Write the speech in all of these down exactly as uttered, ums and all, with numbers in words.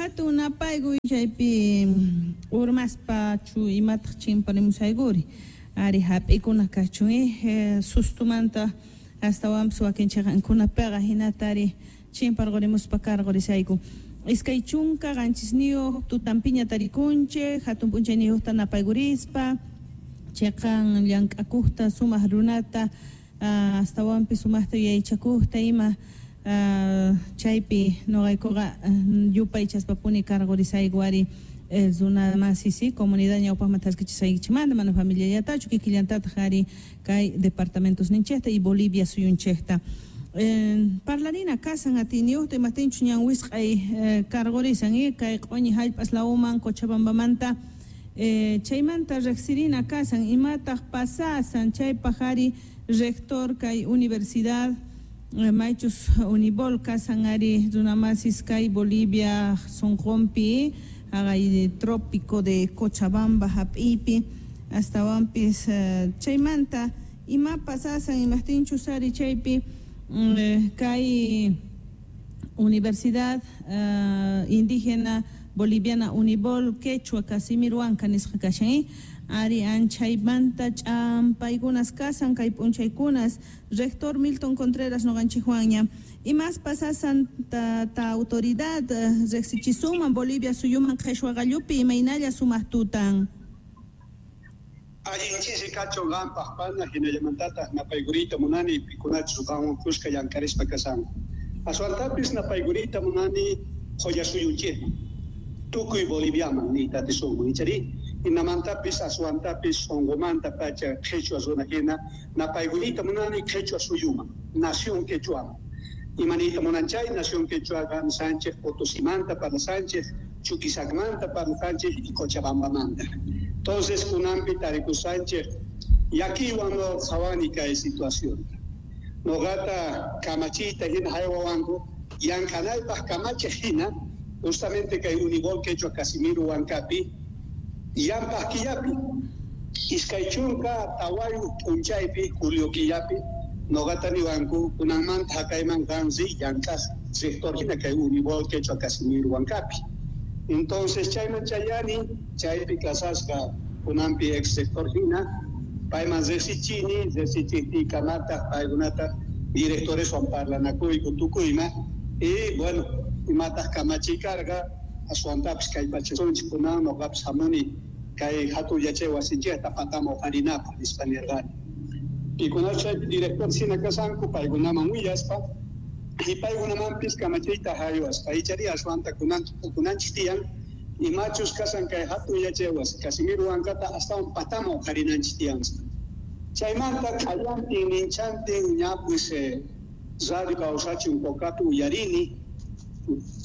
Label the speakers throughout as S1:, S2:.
S1: Hatun napaykuy chaypi urmaspa chu imataq chimparimusaykuri ari hap'ikuna kachun eh, sustumanta astawanpis wakin chiqankunapiqa hinata ari chimparqurimuspa karqurisayku. Iskay chunka qanchisniyuq tutanpiña tarikunchik hatun p'unchayniyuqta napaykurispa chiqan llank'akuqta sumaq runata uh, astawanpis sumaqta yuyaychakuqta ima uh, chaypi nuqaykuqa uh, yupaychaspapuni karqurisayku ari eh, runa masisi comunidad ñawpaqman thaskichisaykichikmanta mana familiallatachu kikillantataq ari kay departamentos ninchikta y Bolivia suyunchikta. Eh, parlarina kasan atiyniyuqta imaptinchus ñan wisq'ay eh, karqurisan y kay q'uñi hallp'as lawman Cochabambamanta eh, chaymanta riqsirina kasan imataq pasasan chaypaq ari rector kay universidad eh, maychus Unibol kasan ari runamasis kay Bolivia sunqunpi haqay trópico de Cochabamba hap'iypi astawanpis eh, chaymanta ima pasasan imaptinchus ari chaypi mm, kay Universidad uh, Indígena Boliviana Unibol Quechua Casimiro Huanca nisqa kashan ari anchaymanta ch'ampaykunas kasan kay p'unchaykunas rector Milton Contreras nuqanchikwanña imas pasasan ta, ta autoridad riqsichisuman Bolivia suyuman qhichwa qallupi imaynalla sumaq tutan.
S2: Allin chisi kachun qampaq pana hinallamantataq napaykuriyta munani pikunachus qanwan kuska llankarispa kasanku. Aswantapis napaykuriyta munani qullasuyunchikman tukuy Boliviaman niyta atisunman ichari hinamantapis aswantapis sunqumanta pacha qhichwa runa hina napaykuriyta munani qhichwa suyuman nación quechuaman. Imaniyta munan chay nación quechuaqa Sánchez Potosimanta parlasanchik Chuquisacmanta parlasanchik y Cochabambamanta. Entonces kunanpi tarikusanchik llakiywan no qhawani kay situación. Noqata kamachiyta hina haywawanku llank'anaypaq kamachiq hina justamente kay Unibol Quechua Casimiro Huancapi llampaq killapi iskay chunka tawayuq p'unchaypi julio killapi noqata niwanku kunanmanta haqayman qan riy llank'aq rector hina kay Unibol Quechua Casimiro Huancapi. Entonces chayman chayani chaypi kasasqa kunanpi ex rector hina payman riqsichini riqsichiqtiykamataq paykunataq directoreswan parlanakuyku tukuyma y bueno imataq kamachiy karqa aswantapis kallpachasunchik kunan nuqapis hamuni kay hatun yachay wasinchikta pataman uqharinapaq nispa nirqani. Pikunachus chaypi director hina kasanku paykunaman willaspa y paykunamanpis kamachiyta haywaspa ichari aswanta kunan tukunanchik tiyan imachus kasan kay hatun yachay wasi Casimiro Huancata astawan pataman uqharinanchik tiyan. Chaymanta q'ayantin ninchantin ña pues eh, radio kawsachun Cocapi uyarini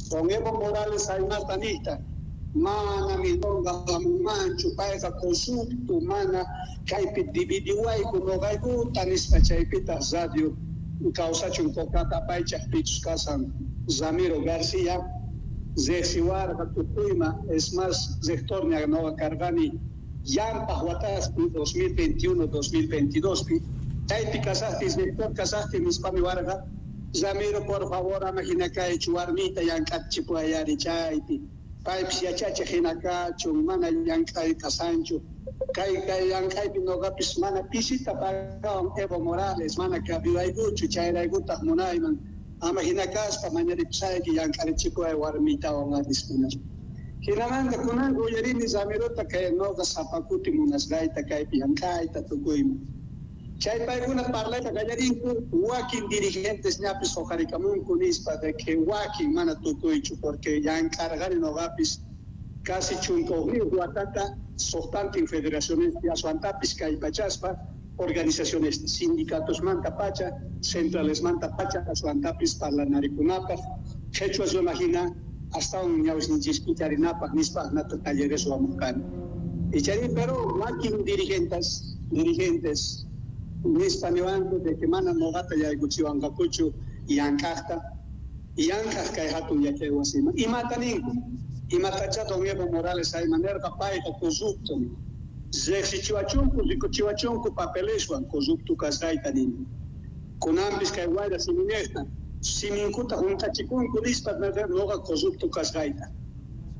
S2: con Evo Morales aymata niyta mana milonga hamunmanchu payqa corrupto mana kaypi dividiwayku nuqaykuta nispa chaypitaq radio kawsachun Cocata apaychaq pichus kasan Ramiro García riqsiwarqa tukuyma es más rector ña nuqa karqani llampaq wataspi dos mil veintiuno dos mil veintidospi chaypi kasaqtis rector kasaqti nispami warqa Ramiro por favor ama hina kaychu warmita llank'achipuwayari chaypi paypis yachachiq hina kachun mana llank'ay kasanchu kay kay llank'aypi nuqapis mana pisita pagawan Evo Morales mana kabiwaykuchu chayraykutaq munayman ama hina kaspa mañaripusayki llank'arichikuway warmitawan arispa. Hinamanta kunanqa uyarini Ramirota kay nuqa sapa kuti munasqayta kaypi llank'ayta tukuyman. Chay paykuna parlayta qallarinku wakin dirigentes ñapis huqarikamunku nispa de que wakin mana tukuychu porque llank'arqani nuqapis casi chunka hukniyuq watata suqtantin federaciones aswantapis kallpachaspa organizaciones sindicatosmanta pacha centralesmanta pacha aswantapis parlanarikunapaq qhichwa runa hina astawan ñawsninchikpi charinapaq nispa nata talleres wamurqani. Ichari pero wakin dirigentes dirigentes nispa niwanku de que mana nuqata yaykuchiwanqakuchu llank'aqta llank'aq kay hatun yachay wasiman imata ninku imatacha don Evo Morales ayma nirqa payqa corrupto riqsichiwachunku rikuchiwachunku papeleswan corrupto kasqayta nini kunanpis kay wayra simiñiqta siminkuta hunt'achikunku nispa nuqa corrupto kasqayta.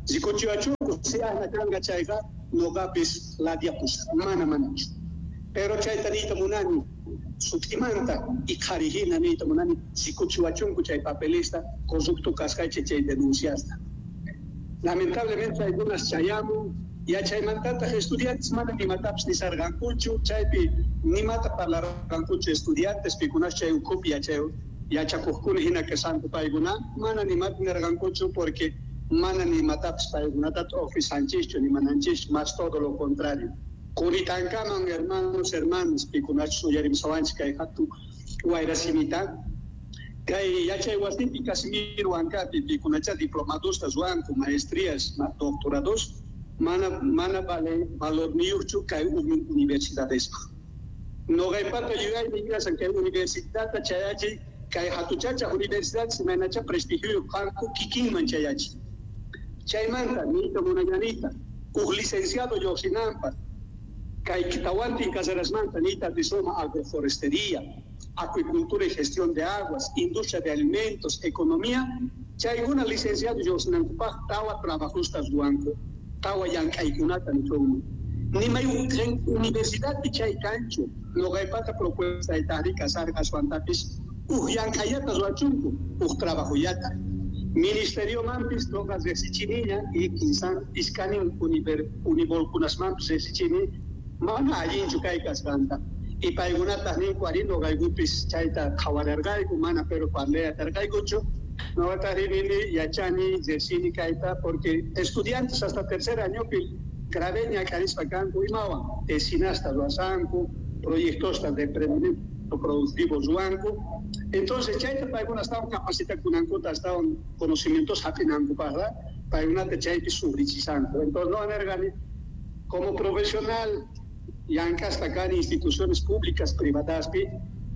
S2: Rikuchiwachunku si ahna kanqa chayqa noqapis ladiapus mana manachu. Pero chayta niyta munani sut'imanta y qharihina niyta munani rikuchiwachunku chay papelista corrupto kasqaychik chay denunciasta. Lamentablemente algunas chayamun yachaymantataq estudiantes mana nimatapis nisarqankuchu chaypi nimata parlarqankuchu estudiantes pikunas chay ukhupi yachay yachakuqkuna hina kashanku paykuna mana nimata nirqankuchu porque mana nimatapis paykunata ofisanchischu nimananchis más todo lo contrario. Kuritankaman hermanos hermanas pikunachus uyarimusawanchik kay hatun wayrasimita kay yachay wasipi Casimiro Huancapi pikunacha diplomadosta ruwanku maestrías doctorados mana mana vale valorniyuqchu kay universidadespaq. Noqaypata yuyaymi kashan kay universidadta chayachiy kay hatuchacha universidad imaynacha prestigioyuq kanku kikinman chayachiy. Chaymanta niyta munallanita huk licenciado lluqsinanpaq kay tawantin carrerasmanta niyta rizoma agroforestería, acuicultura y gestión de aguas, industria de alimentos, economía, chaykuna licenciado lluqsinankupaq tawa trabajosta ruwanku, tawa llank'aykunata nichunman. Nimay universidadpi chay kanchu, noqaypata propuestaytaqri kasarqa aswantapis huk llank'ayata ruwachunku, huk trabajoyata. Ministeriomanpis noqa riqsichiniña y kinsan iskanin univolkunasmanpis riqsichini mana allinchu kay kasqanta. Y paykunataq ninku ari noqaykupis chayta qhawararqayku mana pero parlayarqaykuchu. Noqataq rini yachani riqsini kayta porque estudiantes hasta tercer añopi grave ñak'arispa kanku imawan tesinasta ruwasanku, proyectosta de emprendimiento productivo ruwanku. Entonces chayta paykuna estaban capacitakunankuta estaban conocimientos hap'inankupaqqa paykunata chaypi sufrichisanku. Entonces no nerqani como profesional llank'aspa kani instituciones públicas privadaspi.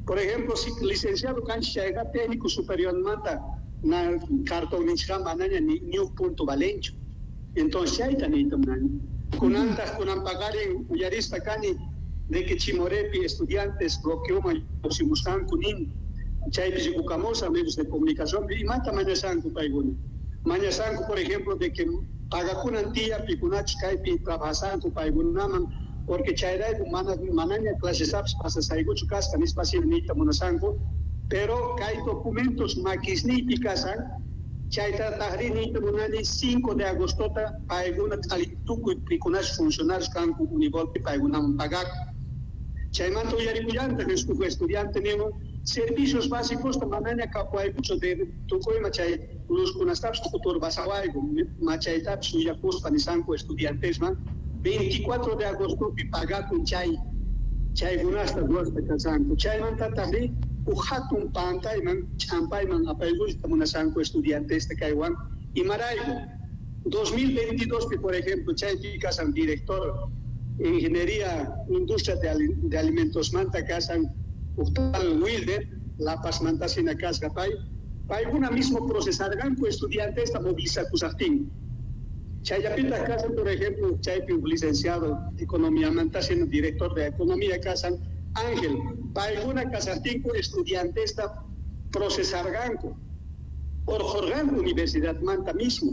S2: Por ejemplo, si licenciado kanchik chayqa técnico superiormanta na cartonninchikqa manaña ni ni huk punto valenchu. Entonces chayta niyta munani. Kunantaq kunanpaqarin uyarispa kani de que Chimorepi estudiantes bloqueoman lluqsimusqanku nin chaypi rikukamusaq medios de comunicación imata mañasanku paykuna. Mañasanku por ejemplo de que pagakunan tiyan pikunachus kaypi trabajasanku paykunaman porque chayrayku mana manaña clasesapis pasasaykuchu kasqa nispa niyta munasanku pero kay documentos makisniypi kasan chaytataqri niyta munani cinco de agostota paykuna tukuy pikunachus funcionarios kanku univolpi paykunaman pagaku. Chaymanta uyarikullantaq huk estudiante nimun servicios básicos manaña kapuwaykuchu de tukuyma chay luzkunastapis k'uturpasawayku machaytapis uyakuspa nisanku estudiantesman veinticuatro de agostopi pagakun chay chaykunasta ruwaspa kasanku. Chaymantataqri huk hatun pantayman ch'ampayman apaykuyta munasanku estudiantesta kaywan imarayku. dos mil veintidós pi por ejemplo chaypi kasan director ingeniería industria de, de alimentos manta kasan huk tal Wilder La Paz mantasina kasqa pay paykuna mismo procesarqanku estudiantesta movilizakusaqtinku. Chayllapitaq kasan por ejemplo chaypi huk licenciado economía mantasina director de economía kasan Ángel paykuna kasaqtinku estudiantesta procesarqanku urqurqanku universidad manta mismo.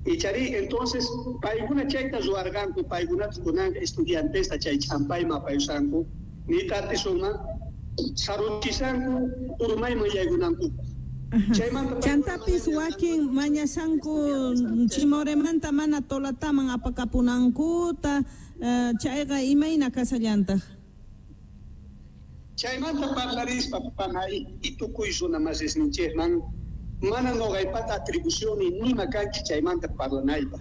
S2: Y chari entonces paykuna chayta ruwarqanku paykunata kunan estudiantesta chay ch'ampayman apayusanku niyta atisunman saruchisanku urmayman yaykunankupaq.
S1: Chantapis wakin mañasanku Chimoremanta mana Tolataman apakapunankuta chayqa imayna kasallantaq.
S2: Chaymanta parlarispa panay y tukuy runa masisninchikman mana noqaypata atribución nima kanchu chaymanta parlanaypaq.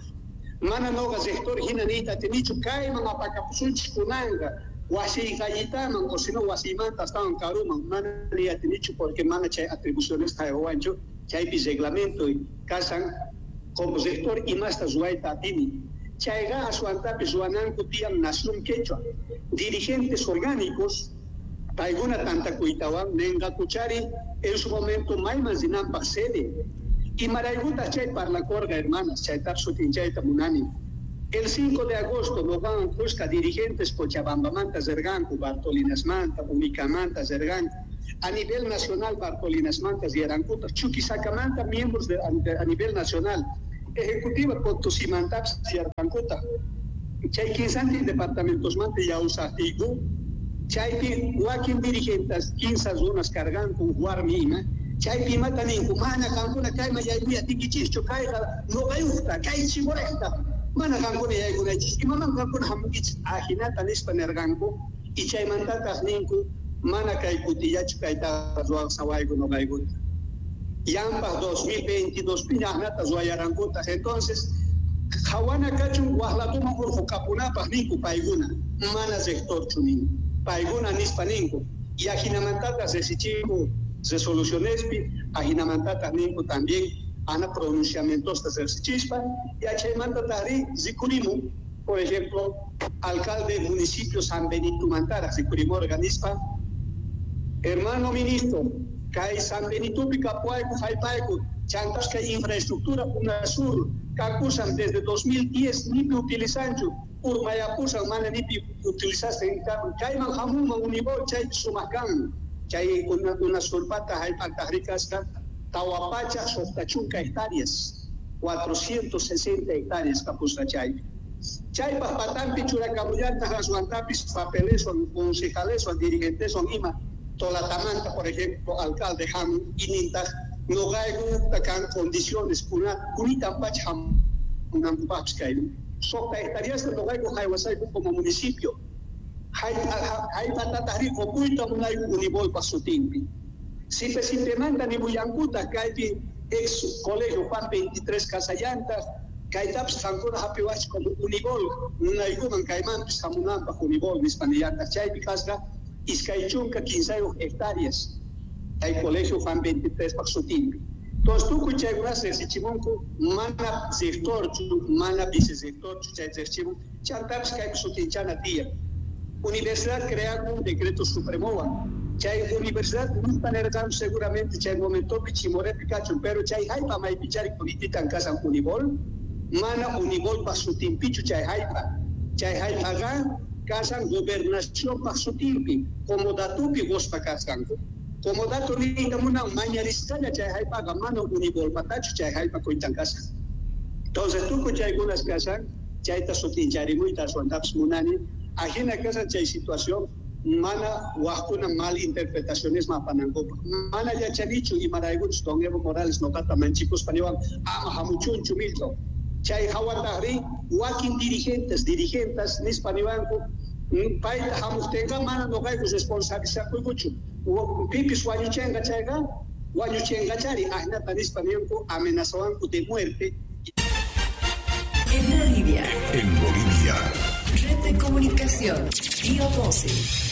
S2: Mana noqa rector hina niyta atinichu kayman apakapusunchik kunanqa wasiy gallitaman o sino wasiymanta astawan karuman mana niy atinichu porque mana chay atribuciones haywanchu chaypi reglamento kasan como rector imasta ruwayta atini. Chayqa aswantapis ruwananku tiyan Nación Quechua dirigentes orgánicos paykuna tantakuytawan ninqakuchari en su momento mayman rinanpaq sede. Imaraykutaq chay parlakurqa hermanas chaytapis sutinchayta munani. El cinco de agosto noqawan kuska dirigentes Cochabambamanta rirqanku, Bartolinasmanta, Unicamanta rirqanku. A nivel nacional Bartolinasmanta riyarankuta, Chuquisacamanta miembros de, a nivel nacional. Ejecutiva Potosímantapis tiyarqankuta. Chay kinsantin departamentosmanta yawsaqtiyku, chaypi wakin dirigentes kinsa runas karqanku warmi ima, chaypi imata ninku, mana qankuna kayman yaykuya atinkichikchu, kayqa nuqayuqta, kay Chimorejta, mana qankuna yaykunaychis, imaman qankuna hamunkichis, ajinata nispa nirqanku, y chaymantataq ninku, mana kay kutillachu kaytaqa ruwasawayku nuqaykuta. Yampaq dos mil veintidós pi ajnata ruwayarankutaq. Entonces, qhawana kachun waqlatuman urqukapunapaq ninku paykuna, mana rectorchu ninku, paykuna nispa ninku, y ajinamantataq riqsichinku resolucionespi, ajinamantataq ninku también ana pronunciamientosta riqsichispa, y chaymantataq ri rikurimun, por ejemplo, alcalde municipio San Benito mantaraq rikurimurqa nispa, hermano ministro, kay San Benitopi kapuayku jallp'ayku, chantas kay infraestructura UNASUR kakusan desde dos mil diez nipi utilizanchu, urmayapusan mana nipi utilizaste kayman hamunman Unibol chay sumaq kan, chay UNASURpata jallp'ataq rikasqa tawa pachak suqta chunka hectáreas, cuatrocientos sesenta hectáreas kapusqa chaypi. Chaypaq patampi churakamullataq aswantapis papeleswan, concejaleswan, dirigenteswan ima, Tolatamanta, por ejemplo, alcalde hamun inintaq nuqaykuta kan condiciones kunitan pacha hamunankupaqpis kayman. Suqta hectáreasta nuqayku haywasayku como municipio. Jallp'atataq ri qupuyta munayku Unibolpaq sutinpi. Sipe sipemanta nimullankutaq kaypi ex colegio Juan veintitrés Casallantaq, kaytapis qankuna hapiwachik como Unibol, munaykuman kaymanpis hamunanpaq Unibol nispa nillantaq. Chaypi kasqa iskay chunka kinsayuq hectáreas kay colegio Juan veintitrés paq sutinpi. Entonces tukuy chaykunas riqsichimunku, mana rectorchu, mana vicerectorchu chay riqsichimun, chantapis kaypi sutinchana tiyan. Universidad crean un decreto supremowan. Chay universidad nispa nirqan seguramente chay momentopi Chimorepi kachun, pero chay jallp'a maypichari kunititan kasan Unibol, mana Unibolpaq sutinpichu chay jallp'a. Chay jallp'aqa kasan gobernacionpaq sutinpi, comodatupi quspa kasqanku. Comodato niyta munan mañarisqalla chay jallp'aqa mana Unibolpatachu chay jallp'a kuytan kasan. Entonces tukuy chaykunas kasan, chayta sutincharimuyta aswantapis munani, ajina kasan chay situación, mana waqkuna mal interpretaciones mapanankupaq. Mana yachanichu imaraykuchus don Evo Morales nuqata manchikuspa niwan ama hamuchunchu Milton. Chay hawataqri wakin dirigentes, dirigentas nispa niwanku, payta hamuqtinqa mana nuqayku responsabilizakuykuchu. Pipis wañuchenqa chayqa, wañuchenqachari ajnata nispa ninku amenazawanku de muerte.
S3: En Bolivia.
S4: En Bolivia.
S3: Red de Comunicación, Bio doce.